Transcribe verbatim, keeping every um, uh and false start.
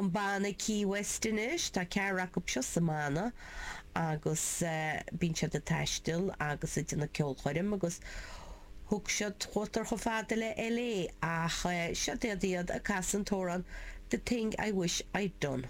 An banna Key West anois tá ceathrar acu seo sa mbanna agus uh, bíonn siad ag taisteal agus ag déanamh ceolchoirm agus thug siad chuatar chomh fada le LA ach uh, seo iad iad ag casadh an t-amhrán The Thing I Wish I'd Done.